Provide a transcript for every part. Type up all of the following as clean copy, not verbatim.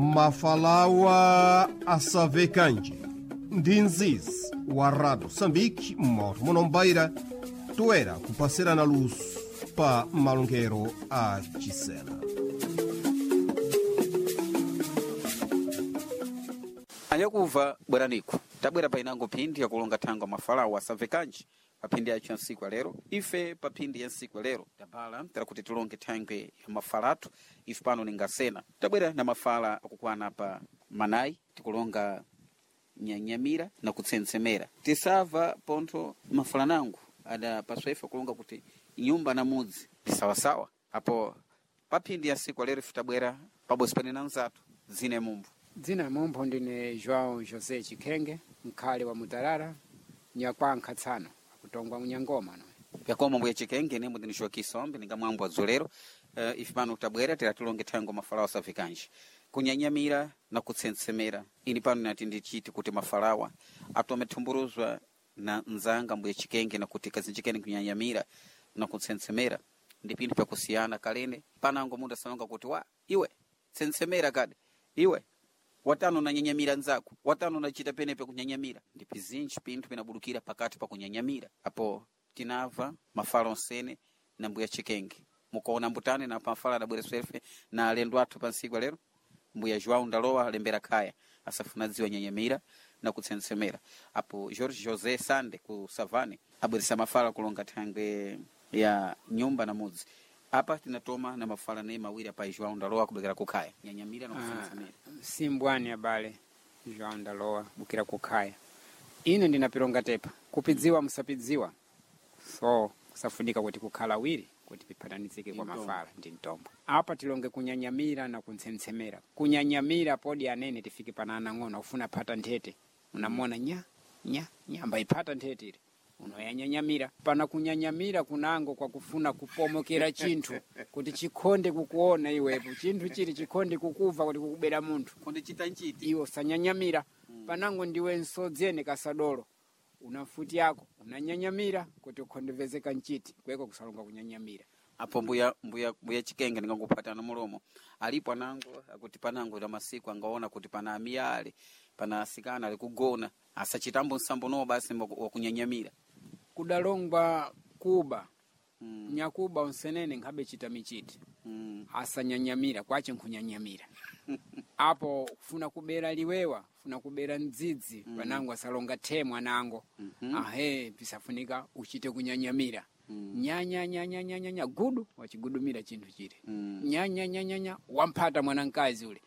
Mafalawa asavekanje ndi nzizi wa Rado Sambiki mmoto munombaira toera kupasirana luso pa malongero a Chisena. Anyakuva bweraniku tabwera painango phindi yakulonga thangwa mafalawo asavekanji pa phindi yacho ya ntsiku ya lero. Ife pa phindi ya ntsiku ya lero tabala tera kuti tilonge thangwe ya mafala athu. Ife pano ningasena tabwera na mafala akukwana pa manayi, tikulonga nyanyamira na kutsensemera. Tisava pontho mafala nangu adapaswa ife kulonga kuti nyumba na mudzi ndi sawasawa. Apo pa phindi ya ntsiku ya lero ife tabwera pabodzi pane na nzathu dzine mumbu. Dzina mumpho ndine João José Chikhenge, mkhale wa Mutarara, nyakwankha tsano, akutongwa munyangoma no. Yakoma mbuya Chikenge nemwe ndinixwa kisombe ningamwambo adzolero. Ife pano tabwera tera tilonge thango mafalawa asavikanji kunyanyamira na kutsensemera. Ini pano nati ndichiti kuti mafalawa atome thumburuzwa na nzanga mbuya Chikenge na kuti kazinjikeni kunyanyamira na kutsensemera ndi pinthu pyakusiyana. Kalene panango mundu asalonga kuti wa iwe tsensemera kadi iwe watano nanyanyamira nzako watano nachita penepe kunyanyamira. Ndi pizinji pinthu pinabudukira pakati pa kunyanyamira. Apo tinava mafala onsene na mbuya Chikenge mukaona mbutane na pamfala adabwera swefe na alendo athu pa ntsiku lero mbuya João Ndalowa alembera khaya asafuna dziwa nyanyamira na kutsensemera. Apo Jorge José Sande ku Savane abweresa mafala kulonga thangwe ya nyumba na mudzi. Apa tinatoma na mafala ne mawiri apa João Ndalowa kubekera kukhaya nyanyamira na kutsensemera. Simbwani abale João Ndalowa bukira kukhaya. Ine ndinapilonga tepa kupidziwa musapidziwa, so kusafunika kuti kukhala wiri kuti piphatanizike kwa Ndi mtombo. mafala ndi mtombo. Apa tilonge kunyanyamira na kuntsensemera. Kunyanyamira podi anene tifike pana anang'ono ufuna phata nthete, unamona nya nya nya mbayiphata nthete ile unoyanyanyamira. Pana kunyanyamira kunango kwa kufuna kupomokera chinthu kuti chikhonde kukuona iwepo, chinthu chili chikhonde kukuva kuti kukubera munthu Kundichita nchiti iwe usanyanyamira. Panango ndiwe nsodzene kasadolo una mfuti yako unanyanyamira kuti ukhondevezeka nchiti kweko kusalonga kunyanyamira. Apo mbuya Chikenge ndinganguphatana mulomo alipo anango akuti panango la masiku angaona kuti pana amiyale pana asikana ali kugona asachitambo nsambo nowo basi wakunyanyamira. Kudalongwa kuba nyakuba unsenene nkhabe chita michiti asanyanyamira kwache nkunyanyamira. Apo kufuna kubera liwewa funa kubera mdzidzi panango asalonga the mwanango ahe pisafunika uchite kunyanyamira. Nyanyanyanyanyanya gudu wachigudumira chinthu chile nyanyanyanyanya wamphata mwanankazi ule.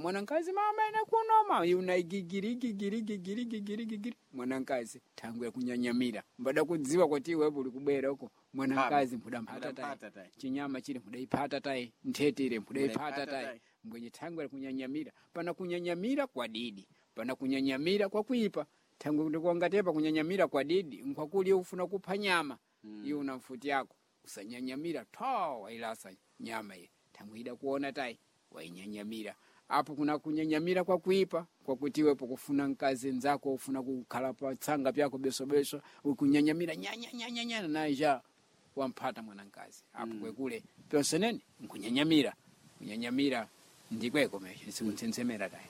Mwanankazi mama ene kunoma iuna igigirigigirigigirigigirigigiri mwanankazi thangwe yakunyanyamira mbada kudziwa kuti iwepo uli kubwera uko mwanankazi mbudamphata tayi Mbudaphata tayi. chinyama chile mbudayiphata tayi nthete ile mbudayiphata Mbudayiphata tayi tayi. mbwenye thangwe lakunyanyamira. Pana kunyanyamira kwa didi, pana kunyanyamira kwa kuipa. Thangwe ndikuangatepa kunyanyamira kwa didi nkwakuli ufuna kupha nyama iwe una mfuti yako usanyanyamira tho wailasa nyama ile thangwe ida kuona tayi wainyanyamira. Apo kuna kunyanyamira kwa kuipa kwakuti iwepo kufuna mkazi nzako ufuna kukhala pa tsanga pyako besobeso ukunyanyamira nyanyanyanyanya naija wamphata mwanankazi apo kwekule pyonsenene nkunyanyamira. Kunyanyamira ndikweko mesho sikuntsensemera tayi.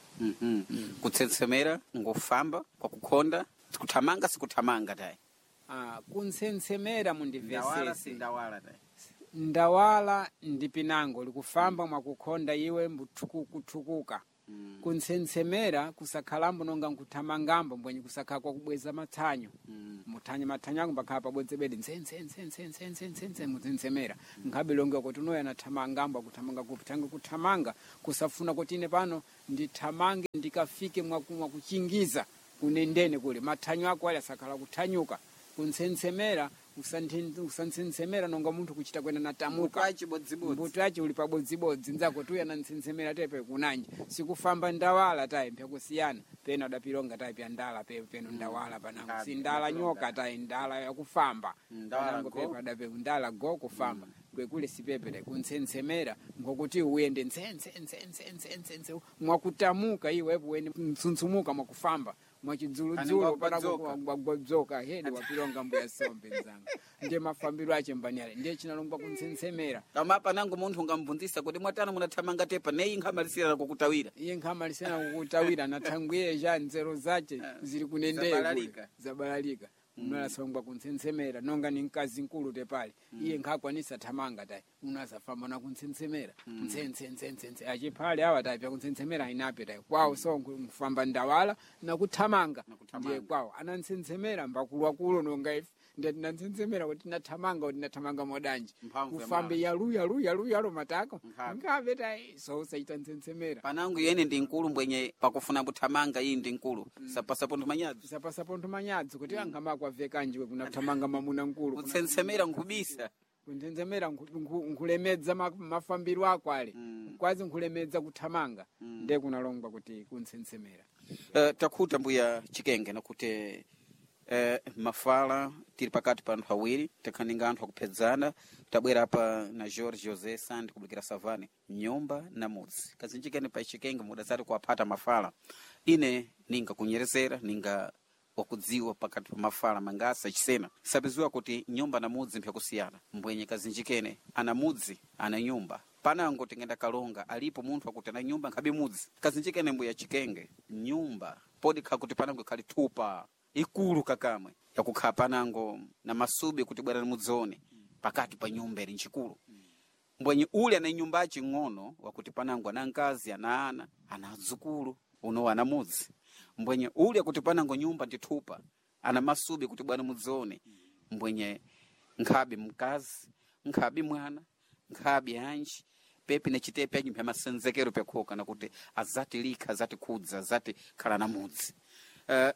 Kutsensemera ngofamba kwa kukhonda sikuthamanga sikuthamanga tayi. Kuntsensemera mundivesese ndawala tayi. Ndawala ndi pinango likufamba mwakukhonda iwe mbuthukuka. Kuntsensemera kusakhalambo nonga nkuthamangambo mbwenye kusakhala kwakubweza mathanyo muthanyo mathanyo ako mbakhala pabodzi bedi ntsentsentsentsentsentsentse mutsensemera nkhabe longe kuti unoyo anathamangambo akuthamanga kupi thange kuthamanga kusafuna kuti ine pano ndithamange ndikafike mwakuchingiza kunendene kule mathanyo ako ali asakhala kuthanyuka. Kuntsensemera usantsensemera nonga munthu kuchita kwena natamuka chibodzibodzi mbuto yacho uli pabodzibodzi nzako tuya nantsentsemera tepe kunanja sikufamba ndawala tayi mpyakusiyana pena udapilonga tayi pya ndala pe peno ndawala panango si ndala nyoka tayi ndala yakufamba Ndawala panango go. pepe adape ndala go kufamba kwekule sipepe tayi kuntsensemera ngokuti uyende ntsentsentsentsentsentsentse mwakutamuka iwepo uende mtsuntsumuka mwakufamba. mwachidzuludzulo Anenge panagwadzoka hedi wapilonga mbuya sombe mzanga ndiye mafambiro ache mbaniale ndiye chinalongwa kuntsensemera Kama panango munthu ungamubvunzisa kuti mwatana munathamanga tepa neyi nkhamalisira kukutawira. Iye nkhamalisira kukutawira nathangwiye cha nzeru zace zili kunendeyo Zabalalika. Zabalalika unalasongwa kuntsensemera nonga ni mkazi nkulu tepali iye nkhakwanisa thamanga tayi unasafamba na kuntsensemera ntsentsentsentsense achiphale awa tayi pyakuntsensemera inape tayi kwawo so nkufamba ndawala nakuthamanga. Nakuthamanga. Ndiye kwawo anantsensemera mbakuluakulu nonga ife ndiye tinantsensemera kuti tinathamanga kuti tinathamanga modanji Mphamvu ya kufambe yalu yalu yalu yalu matako Nkhabe. nkhabe tayi so usaita ntsensemera. Panango yene ndi nkulu mbwenye pakufuna kuthamanga iyi ndi nkulu. Sapasapo nthumanyadzo. Sapasapo nthumanyadzo kuti angamakwa vekanjiwe kunathamanga mamuna nkulu. Kutsentsemera nkhubisa. Kuntsensemera nkulemedza mafambiro ako ale kwazi nkulemedza kuthamanga ndiye kunalongwa kuti kuntsensemera. Takhuta mbuya Chikenge nakuti mafala tili pakati pa anthu awiri tikhaninga anthu akuphedzana tabwera apa na George Jose Sandi kubukira Savane nyumba na mudzi kazinjikeni pa Chikenge mudazati kuwaphata mafala ine ninga kunyerezera ninga wakudziwa pakati pa mafala mangasa chisena sapiziwa kuti nyumba na mudzi mpyakusiyana mbwenye kazinjikene ana mudzi ana nyumba panango tingenda kalonga alipo munthu akuti ana nyumba nkhabe mudzi kazinjikene mbuya Chikenge nyumba podi khakuti panango ikhali thupa ikulu kakamwe yakukhala panango na masubi kuti bwerani mudzione pakati pa nyumba ili ncikulu mbwenye uli ana nyumba aching'ono wakuti panango ana nkazi ana ana ana adzukulu uno ana mudzi mbwenye uli akuti panango nyumba ndithupa ana masubi kuti bwana mudzione mbwenye nkhabe mkazi nkhabe mwana nkhabe anji pepi na chitepe anji mpya masenzekero pyakhoka nakuti azati likha azati khudza azati khala na mudzi.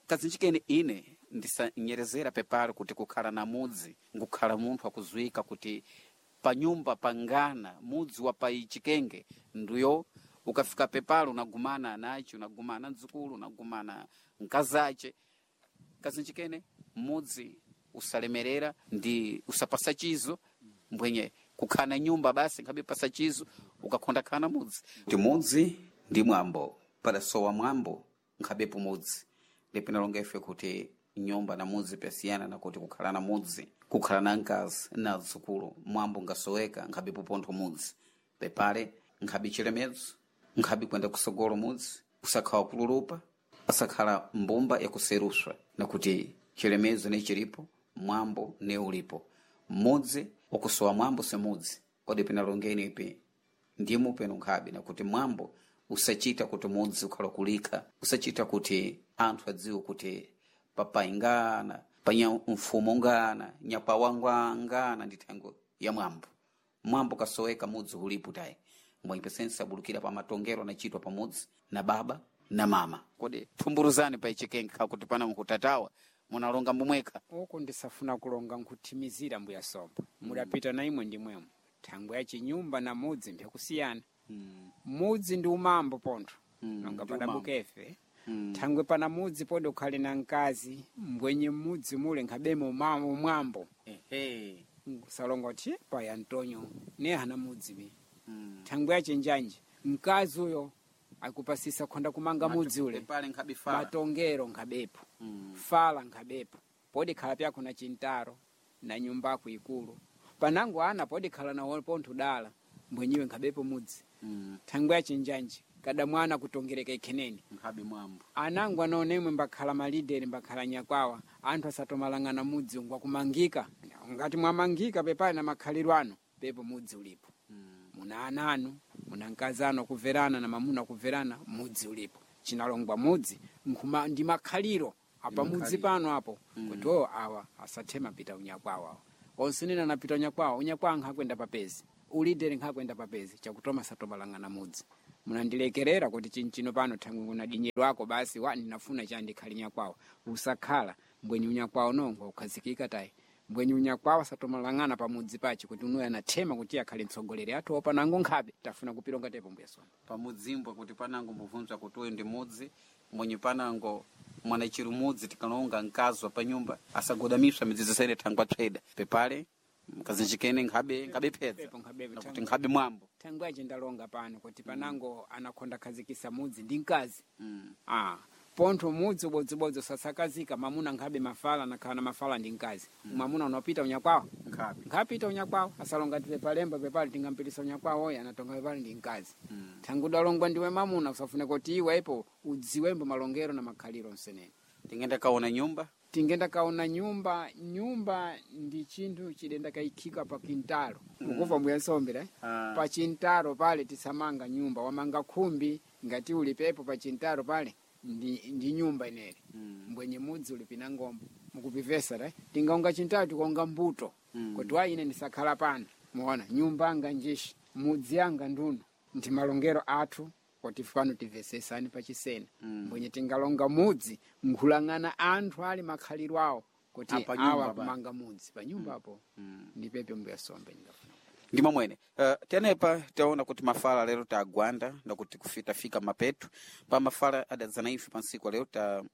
Kazinjikeni ine ndisanyerezera pepale kuti kukhala na mudzi ngukhala munthu akuzwika kuti panyumba pangana mudzi wa paichikenge ndiyo ukafika pepalo unagumana anachi unagumana mdzukulu unagumana mkazache kazinjikene mudzi usalemerera ndi usapasa chizo mbwenye kukhana nyumba basi nkhabe pasa chizo ukakhonda khana mudzi ndi mudzi ndi mwambo padasowa mwambo nkhabepo mudzi ndipinalonga ife kuti nyumba na mudzi pyasiyana nakuti kukhala na mudzi kukhala na mkazi na dzukulu mwambo ngasoweka nkhabepo pontho mudzi pepale nkhabe chilemedzo nkhabe kwenda kusogolo mudzi usakhala kululupa asakhala mbumba yakuseruswa nakuti chilemezo ne chilipo mwambo ne ulipo mudzi ukusowa mwambo semudzi kodi pinalongeni ipi ndimo peno nkhabe nakuti mwambo usachita kuti mudzi ukhala kulikha usachita kuti anthu adziwe kuti papai ngana panya mfumo ngana nyapawangwa ngana ndi thengo ya mwambo mwambo kasoweka mudzi ulipo tayi mbwenye pesense abulukira pa matongero anachitwa pamudzi na baba na mama kodi thumburuzani pa ichikenge khakuti pana mukutatawa munalonga mbumwekha. Uku ndisafuna kulonga nkuthimizira mbuya somba mudapita na imwe ndimwemo thangwe ya chinyumba na mudzi mpyakusiyana mudzi ndi umambo pontho nonga ndi padabukefe thangwe pana mudzi podi ukhale na mkazi mbwenye mudzi mule nkhabemo umwambo Ehe. salonga kuti paya Antonio ne hana mudzi mi thangwe ya chenjanji mkazi uyo akupasisa khonda kumanga mudzi ule pale nkhabe fala matongero nkhabepo fala nkhabepo podi khala pyakho na chintaro na nyumbako ikulu panango ana podi khala na pontho dala mbwenyiwe nkhabepo mudzi thangwe ya chinjanji kada mwana kutongereka ikheneni nkhabe mwambo anango anaonemwe mbakhala malideri mbakhala nyakwawa anthu asatomalang'ana mudzi ngwakumangika ngati mwamangika pepali na makhaliro ano pepo mudzi ulipo muna ana anu muna mkazi anu akuverana na mamuna akuverana mudzi ulipo chinalongwa mudzi nkhuma ndi makhaliro apa mudzi pano apo kuti o awa asathema pita unyakwawa awa onse nena anapita unyakwawa unyakwawa nkhakwenda papezi ulideri nkhakwenda papezi chakutoma satomalang'ana mudzi munandilekerera kuti chinchino pano thangwe kunadinyerwako basi wa ndinafuna chandikhali nyakwawa usakhala mbwenye unyakwawa nongo ukhazikika tayi mbwenye unyakwawa satomalang'ana pamudzi pache kuti unoyo anathema kuti akhale mtsogoleri athu opanango nkhabe tafuna kupilonga tepo mbuya sona pamudzimbwa kuti panango mbuvunzwa kuti uyu ndi mudzi mwenye panango mwanachiri mudzi tikalonga mkazi wa panyumba asagodamiswa midzidzo sene thangwa tsweda pepale mkazinjikene nkhabe nkhabe phedza Pepo nkhabe nakuti nkhabe mwambo thangwe ache ndalonga pano kuti panango anakhonda khazikisa mudzi ndi mkazi ah Pontho mudzi ubodzibodzi usasakazika, mamuna nkhabe mafala nakhala na mafala ndi mkazi. Mwamuna unapita unyakwawo, Nkhabe. nkhapita unyakwawo, asalonga tipe palemba pepali tingampitisa unyakwawo oyo anatonga pepali ndi mkazi. Thangu udalongwa ndiwe mamuna, usafune kuti iwe ipo udziwembo malongero na makhaliro msenene. Tingenda kaona nyumba. Tingenda kaona nyumba. Nyumba ndi chinthu chidenda kaikhika pa kintalo. Mukuva mbuya nsombera, eh? Pa chintaro pale tisamanga nyumba, wamanga khumbi ngati uli pepo pa chintaro pale ndi nyumba inere. Mbwenye mudzi uli pina ngombo mukupivesa eh? Tingaonga chintaro tikuonga mbuto. Kuti wa ine ndisakhala pano, muona nyumba anga njishi, mudzi anga nduno, ndi malongero athu kuti pano tivesesani pachisena. Mbwenye tingalonga mudzi nkhulang'ana anthu ali makhaliro awo kuti Apa nyumba awa pa. kumanga mudzi pa nyumba apo. Ndipepe mbuya sombe ndingafuna. Ndimo mwene. Tenepa taona kuti mafala lero tagwanda nakuti tafika mapetu pa mafala adadzana ife pansiku lero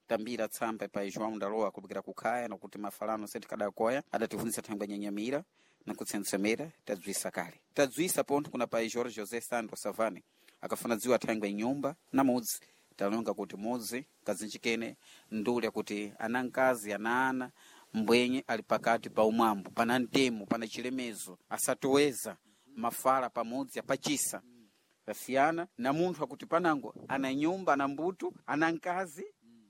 tambira tsamba pa João Ndalowa kupikira kukhaya nakuti mafala ano seti kadakoya adativunisa thangwe nyanyamira nakutsensemera tadzwisa kale tadzwisa pontho kuna pa Jorge José Sandro Savane akafuna dziwa thangwe nyumba na mudzi. Talonga kuti mudzi kazinjikene ndule kuti ana mkazi ana ana mbwenye ali pakati pa umwambo, pana ntemo, pana chilemezo, asatoweza mafala pamudzi apachisa tasiyana na munthu akuti panango ana nyumba ana mbuto ana mkazi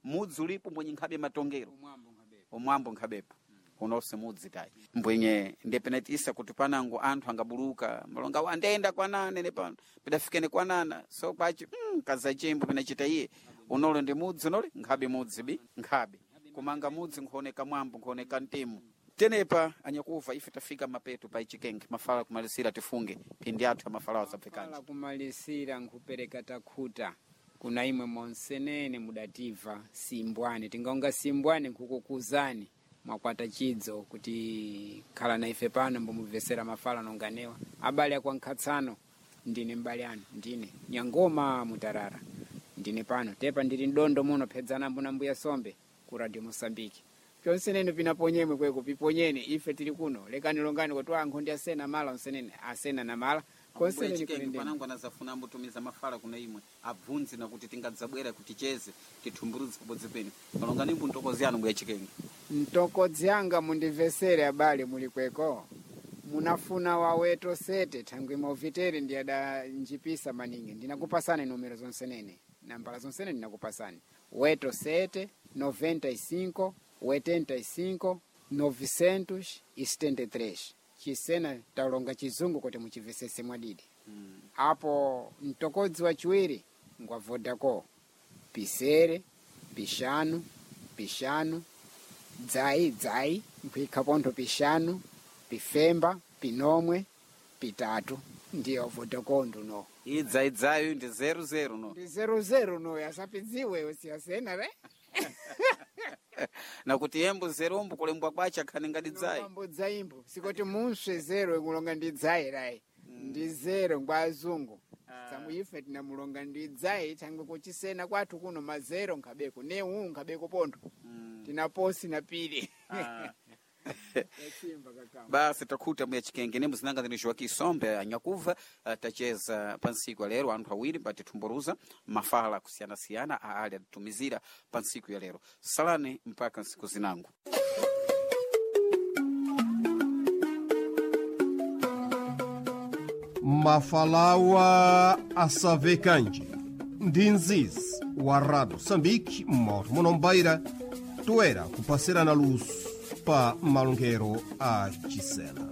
mudzi ulipo mbwenye nkhabe matongero Umwambo nkhabepo. Umwambo nkhabepo unonse mudzi tayi mbwenye ndepenetisa kuti panango anthu angabuluka malonga andenda kwanana ene pano pidafikene kwanana so kwachi kazachembo pinachita iye unole ndi mudzi unole nkhabe mudzi bi nkhabe kumanga mudzi nkhuoneka mwambo nkhuoneka mtemo. Tenepa anyakuva ife tafika mapeto pa ichikenge mafala kumalisira tifunge phindi athu amafala wasapfekanje. Mafala kumalisira nkhupereka takhuta kuna imwe monsenene mudativa simbwani, tingaonga simbwani nkukukuzani mwakwata chidzo kuti khala na ife pano mbomubvesera mafala nonganewa abale akwa nkhatsano. Ndine mbale anu, ndine Nyangoma Mutarara, ndine pano tepa ndili mdondo muno phedzana mbuna mbuya sombe ku Radio Mosambiki. Pyonsenene pinaponyemwe kweko piponyene, ife tili kuno lekani longani kuti ankho ndi asena mala onsenene asena na mala konsenene kulendeni. Panango anazafuna ambotumiza mafala kuna imwe abvunze nakuti tingadzabwera kuti ticheze tithumburuze pabodzi penu malonga nimbu ntokozi anu mbuya chikenge. Mtokodzi anga mundimvesere abale muli kweko munafuna waweto sete thangwi mauvitere ndi adanjipisa maningi. Ndinakupasani numero zonsenene, nambala zonsene ndinakupasani: weto sete 95 85 973. Chisena talonga chizungu kuti muchimvesese mwadidi. Apo mtokodzi wachiwiri ngwa Vodacom: pisere pishanu pishanu dzai dzai nkuikha pontho pishanu pifemba pinomwe pitatu. Ndiyo Vodacom nduno. Iyi dzaidzayo ndi 00 no. Ndi 00 no, asapidziwe siyasena re. Nakuti yembo zerombo kulembwa kwacha akhani ngati dzai. Mambo dzaimbo sikoti munswe zero ikulonga ndi dzai rai, ndi zero ngwa azungu samu ife tinamulonga ndi dzai thangwe kuchisena kwathu kuno mazero nkhabeko newu nkhabeko pontho tinaposi na pili. Yachimba kakama. Basi takhuta mbuya chikenge nembo zinanga zini Joaquim Sombe anyakuva. Tacheza pansiku ya lero anthu awiri patithumburuza mafala kusiyanasiyana aali atitumizira pansiku ya lero. Salani mpaka nsiku zinango. Mafalawa asavekanje ndi nzizi wa Rado Sambiki mmoto munombaira toera kupasirana luso pa malongero a chisena.